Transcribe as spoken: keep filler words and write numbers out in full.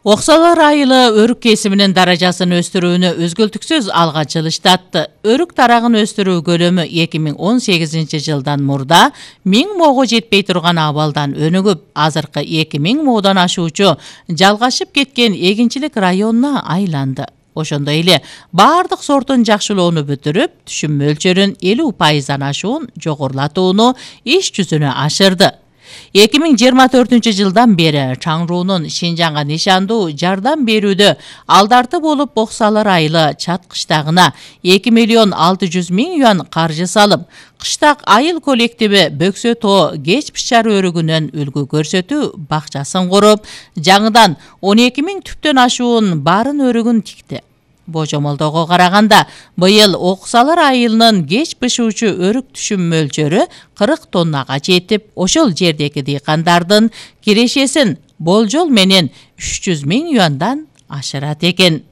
Оксалар айылы өрүк кесиминин даражасын өстүрүүнү өзгөлтүксүз алга жылыштатты. Өрүк тарагын өстүрүү көлөмү эки миң он сегизинчи жылдан мурда миң моого жетпей турган абалдан өнүгүп, азыркы эки миң моодан ашуучу жалгашып кеткен эгинчилик районуна айланды. Ошондой эле баардык сортун жакшылоону бүтүрүп, түшүм мөлчөрүн элүү пайыздан ашуун жогорулатууну иш жүзүнө ашырды. эки миң жыйырма төртүнчү жылдан бери Чаңруунун Шинжаңга нишандуу жардам берүүдө алдарты болуп Оксалар айылы чат кыштагына эки миллион алты жүз миң юан каржы салып, кыштак айыл коллективи Бөксө тоо кеч пышар өрүгүнөн үлгү көрсөтүү бакчасын куруп, жаңыдан он эки миң түптөн ашуун барын өрүгүн тикти. Божомолдого караганда быйыл Оксалар айылынын кеч бышуучу өрүк түшүм мөлчөрү кырк тоннага жетип, ошол жердеги дыйкандардын кирешесин болжол менен үч жүз миң юандан ашырат экен.